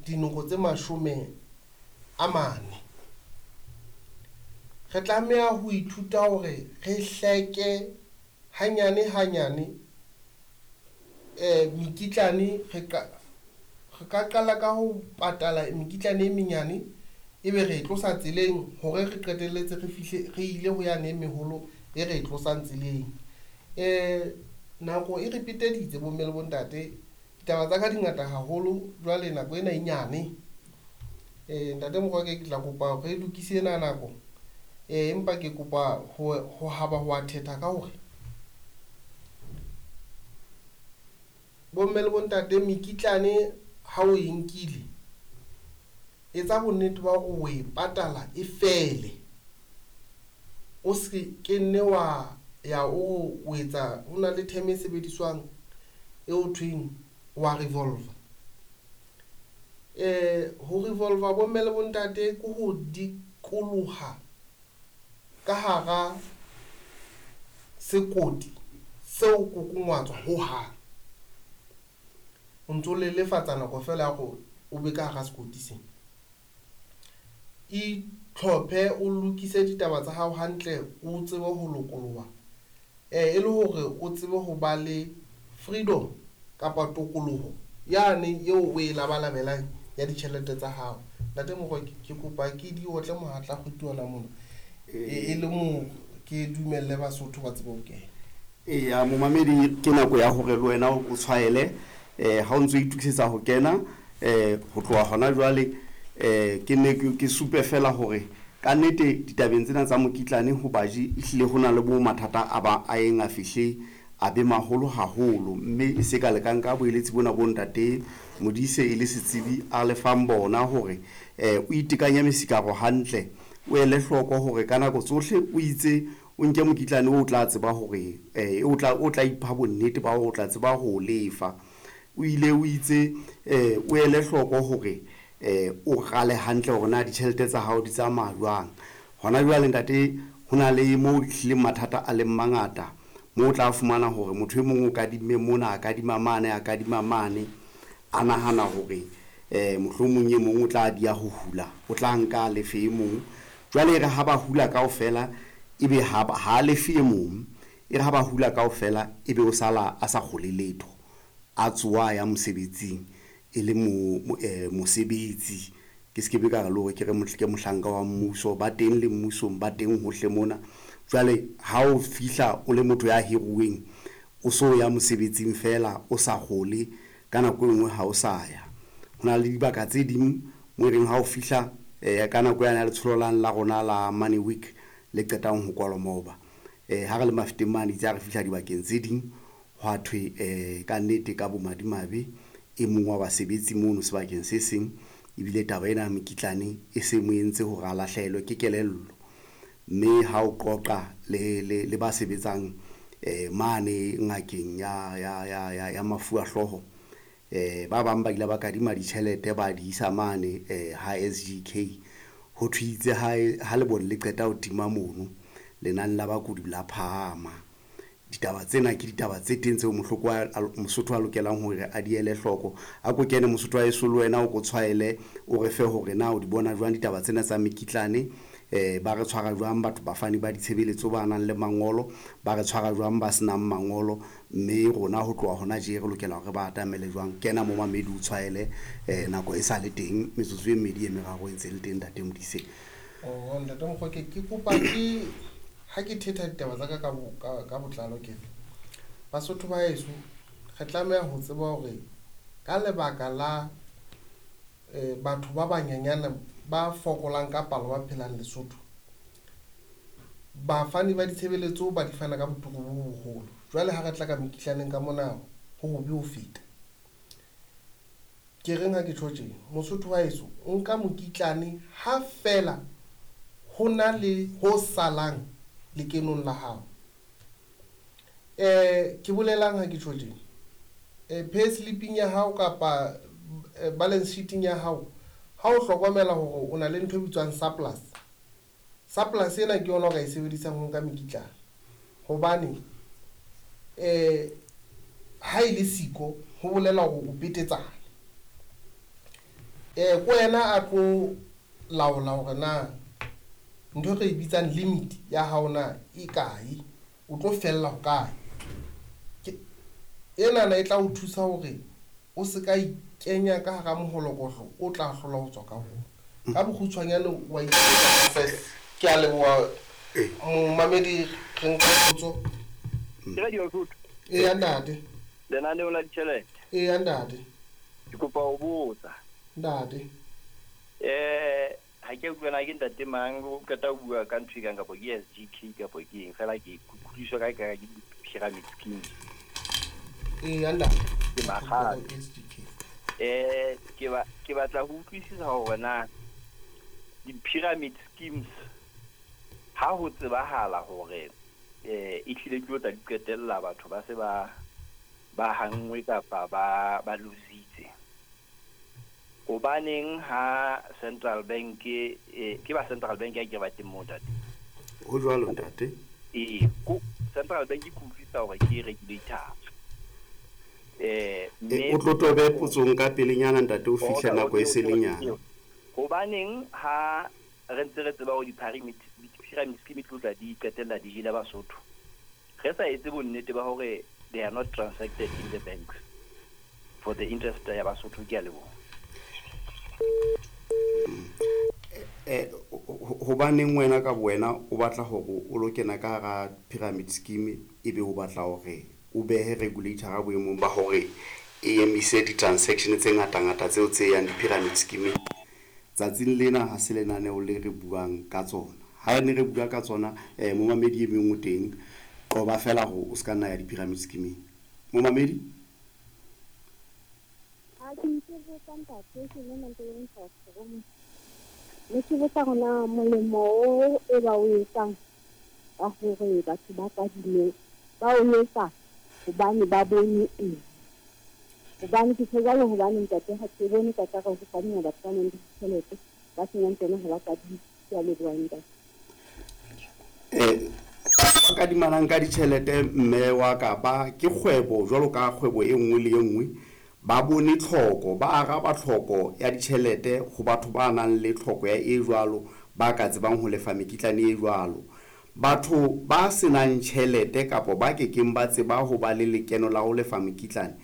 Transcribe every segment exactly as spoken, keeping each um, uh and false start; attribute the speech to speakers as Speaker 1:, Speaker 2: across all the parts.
Speaker 1: dinoko tse mashome a mane. Re tlameha ho ithuta hore re hleke hanyane hanyane um mekitlane re ka re ka qala ka ho patala mekitlane e menyane, ebe re e tlosa tseleng hore re qetelletse re fihle re ile ho yane e meholo e re e tlosang tseleng. Um nako e re peteditse bomme le bontate, ditaba tsa ka di ngata haholo, jwale nako ena e nyane. Um ntate Mokoke ke tla kopa re lokise ena nako, um empa ke kopa ho ho haba ho a thetha ka hore bomme le bontate mekitlane ha o e nkile, etsa bonnete ba hore o e patala e fele. O se ke nne wa ya o o etsa, ho na le term e sebediswang e ho thweng wa revolver. Eh ho revolver bomme le bontate ke ho dikoloha ka hara sekoti seo kokongwatswa hohang. O ntso lelefatsa nako fela ya hore o be ka hara sekoti sena. Itlhophe o lokise ditaba tsa hao hantle, o tsebe ho lokoloha eh e le hore o tsebe ho ba le freedom kapa tokoloho yane eo o e labalabelang ya ditjhelete tsa hao. Ntate Mokoke ke kopa ke di otle mohatla kgweti ona mona e e le mo ke dumelle Basotho ba tsebe ho kena.
Speaker 2: Eya momamedi, ke nako ya hore le wena o tshwaele eh ha o ntso itokisetsa ho kena eh ho tloha hona jwale. Eh ke ne ke supe fela hore ka nnete ditabeng tsena tsa mokitlane ho baji ehlile ho na le bo mathata a ba a eng a fihle a be maholo haholo, mme e se ka lekang ka boeletsi bona bo ntate Modise e le setsebi a lefang bona hore eh o itekanya mesikaro hantle, o ele hloko hore ka nako tsohle o itse o nke mokitlane o tla tseba hore eh o tla o tla ipha bonnete ba hore o tla tseba ho lefa. O ile o itse eh o ele hloko hore eh o rale hantle hore na ditjhelete tsa hao di tsamaya jwang. Hona jwale ntate ho na le moo ehlileng mathata a leng mangata, moo o tla fumana hore motho e mong o kadimme mona, a kadima mane, a kadima mane, a nahana hore eh mohlomong e mong o tla dia ho hula, o tla nka lefe e mong. Jwale e re ha ba hula kaofela ebe ha ha lefe e mong, e re ha ba hula kaofela ebe o sala a sa kgole letho, a tsoha ya mosebetsing e le mo eh mosebetsi. Ke se ke be ka re le hore ke re ke mohlanka wa mmuso, ba teng le mmusong, ba teng hohle mona. Jwale ha o fihla o le motho ya hiruweng, o so ya mosebetsing fela o sa kgole, ka nako e nngwe ha o sa ya. Ho na le dibaka tse ding mo e reng ha o fihla eh ka nako yane ya letsholo lane la rona la Money Week le qetang ho kwalwa maoba, eh ha re le Mafeteng mane itse ha re fihla dibakeng tse ding hwa thwe eh ka nnete ka bomadimabe e mong wa basebetsi mono sebakeng se seng ebile taba ena ya mokitlane e se mo entse hore a lahlehelwe ke kelello. Mme ha o qoqa le le le ba sebetsang eh mane ngakeng ya ya ya ya ya mafu a hlooho, eh ba bang ba ile ba kadima ditjhelete ba di isa mane eh ha S G K, ho thwe itse ha ha lebone le qeta ho tima mono lenane la bakudi la phahama. Ditaba tsena ke ditaba tse teng tseo mohloko wa Mosotho a lokelang hore a di ele hloko. A ko kene Mosotho wa heso le wena o ko tshwaele, o re fe hore na o di bona jwang ditaba tsena tsa mekitlane, eh ba re tshwara jwang batho bafani ba ditshebeletso ba nang le mangolo, ba re tshwara jwang ba senang mangolo, mme rona ho tloha hona tje re lokela hore ba atamele jwang. Kena mo mamedi o tshwaele eh nako e sa le teng, metsotso e mmedi e meraro e ntse le teng ntate Modise.
Speaker 1: Oh ntate Mokoke, ke kopa ke ha ke thetha ditaba tsa ka ka ka ka botlalo ke re Basotho ba heso re tlameha ho tseba hore ka lebaka la eh batho ba banyanyana ba fokolang ka palo ba phelang Lesotho, bafani ba ditshebeletso ba di fana ka boturu bo boholo. Jwale ha re tla ka mekitlaneng ka mona ho hobe ho feta. Ke reng ha ke tjho tje, Mosotho wa heso o nka mokitlane ha fela ho na le ho salang lekenong la hao. Eh ke bolelang ha ke tjho tje, eh pay slip-ing ya hao kapa balance sheet-ing ya hao, ha o hlokomela hore o na le ntho e bitswang surplus, surplus ena ke yona o ka e sebedisang ho nka mekitlane, hobane eh ha e le siko ho bolela hore o petetsane. Eh ko wena a tlo laola hore na ntho re e bitsang limit ya hao na e kae, o tlo fella ho kae. Enana e tla o thusa hore o se ka ikenya ka hara moholokohlo o tla hlola ho tswa ka ho. Ka bokgutshwanyane wa itse ke a leboha momamedi re nka potso.
Speaker 3: Ke Radio Lesotho.
Speaker 1: Eya ntate.
Speaker 3: Lenaneo la ditjhelete.
Speaker 1: Eya ntate.
Speaker 3: Ke kopa ho botsa.
Speaker 1: Ntate.
Speaker 3: Eh ha ke utlwa na ke ntate mang o qeta ho bua ka ntho e kang kapa ke S G K kapa ke eng fela ke kutlwiswa ka ka ke pyramid scheme.
Speaker 1: Eya ntate.
Speaker 3: Ke makgalo. Eh ke ba ke batla ho utlwisisa hore na di-pyramid schemes ha ho tsebahala hore eh e tlile ke tla di qetella batho ba se ba ba hangwe kapa ba ba lositse. Hobaneng ha Central Bank eh ke ba Central Bank ya ke ba teng mo ntate?
Speaker 2: Ho jwalo ntate.
Speaker 3: Eh ko Central Bank ke utlwisisa hore ke regulator. Eh
Speaker 2: mme o tlo tobe potsong ka pelenyana ntate o fihle nako e selenyana.
Speaker 3: Hobaneng ha re ntse re tseba hore di-pyramid pyramid scheme tlo tla di qetella di jela Basotho, re sa etse bonnete ba hore they are not transacted in the banks for the interest ya Basotho. Ke a leboha.
Speaker 2: Eh hobaneng wena ka wena o batla hore o lo kena ka hara pyramid scheme ebe o batla hore o behe regulator ga boemong ba hore e emise di-transaction tse ngata-ngata tseo tse yang di-pyramid scheme? Tsatsing lena ha se lenaneo le re buang ka tsona. Ha ne re bua ka tsona eh momamedi e meng o teng, qoba fela hore o ska nna ya di-pyramid scheme. Momamedi?
Speaker 4: Ha ke ntse botsa ntate ke nna ntse ke ntse. Ne ke botsa hore molemo o e ba o etsang wa hore batho ba kadime ba o etsa hobane ba bone eng? Hobane ke tjho hobane ntate ha ke bone ka tsa ho kadima batho ba nang le ditjhelete ba senang tsona ha ba kadime. Ke a leboha ntate.
Speaker 2: Eh ba kadimanang ka ditjhelete mme wa ka ba ke kgwebo jwalo ka kgwebo e nngwe le e nngwe, ba bone tlhoko, ba araba tlhoko ya ditjhelete ho batho ba nang le tlhoko ya e jwalo, ba ka tsebang ho lefa mekitlane e jwalo. Batho ba senang tjhelete kapa ba kekeng ba tseba ho ba le lekeno la ho lefa mekitlane,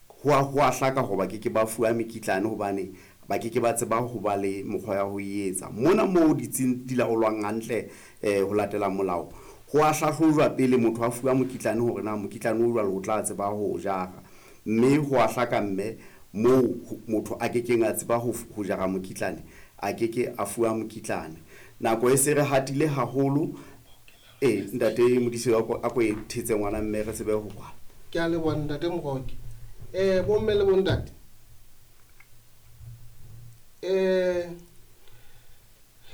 Speaker 2: ho a ho a hlaka hoba ke ke ba fuwa mekitlane hobane ba ke ke ba tseba ho ba le mokgwa ya ho etsa. Mona moo ditsing di laolwang hantle eh ho latela molao, ho a hlahlojwa pele motho a fuwa mokitlane hore na mokitlane o jwalo o tla tseba ho jara. Mme ho a hlaka mme moo motho a kekeng a tseba ho ho jara mokitlane, a keke a fuwa mokitlane. Nako e se re hatile haholo. Eh ntate Modise a ko e thetse ngwana mme re tsebe ho kwala.
Speaker 1: Ke a leboha ntate Moroke. Eh bomme le bontate, eh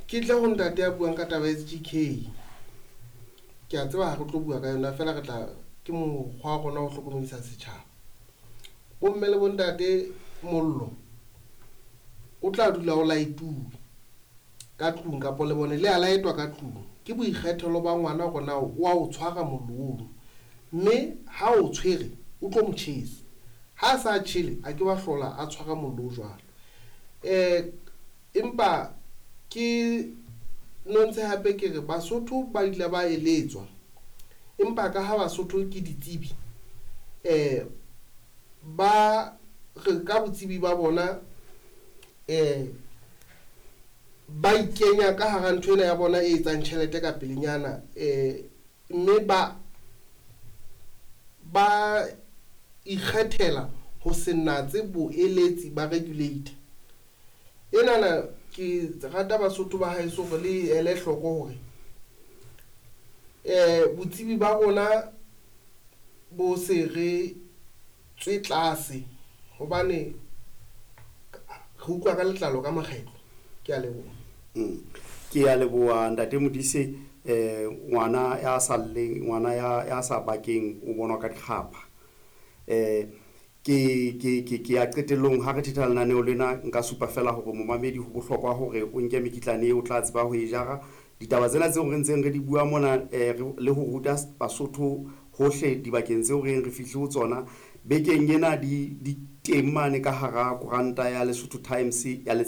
Speaker 1: ke tle ho ntate ya buang ka taba ya S G K. Ke a tseba ha re tlo bua ka yona fela re tla ke mokgwa wa rona ho hlokomedisa setjhaba. Bomme le bontate, mollo o tla dula o laetuwe ka tlung kapa le bone le a laetwa ka tlung. Ke boikgethelo ba ngwana hore na o a o tshwara mollo ono, mme ha o tshwere o tlo mo tjhesa. Ha sa tjhele a ke wa hlola a tshwara mollo o jwalo. Eh empa ke nontse hape ke re Basotho ba ile ba eletswa, empa ka ha Basotho ke ditsebi eh ba re ka botsebi ba bona eh ba ikenya ka hara ntho ena ya bona e etsang tjhelete ka pelenyana, eh mme ba ba ikgethela ho se natse boeletsi ba regulator. Enana ke rata Basotho ba haeso hore le ele hloko hore eh botsebi ba rona bo se re tswe tlase, hobane re utlwa ka letlalo ka makgetlo. Ke a leboha.
Speaker 2: Mm. Ke a leboha ntate Modise. Eh ngwana ya sa lleng, ngwana ya ya sa bakeng o bonwa ka dikgapha. Eh ke ke ke ke ya qetellong ha re thetha lenaneo lena nka supa fela hore momamedi ho bohlokwa hore o nke mekitlane eo o tla tseba ho e jara. Ditaba tsena tseo re ntseng re di bua mona eh le ho ruta Basotho hohle dibakeng tseo re re fihle ho tsona bekeng ena di di teng mane ka hara koranta ya Lesotho Times ya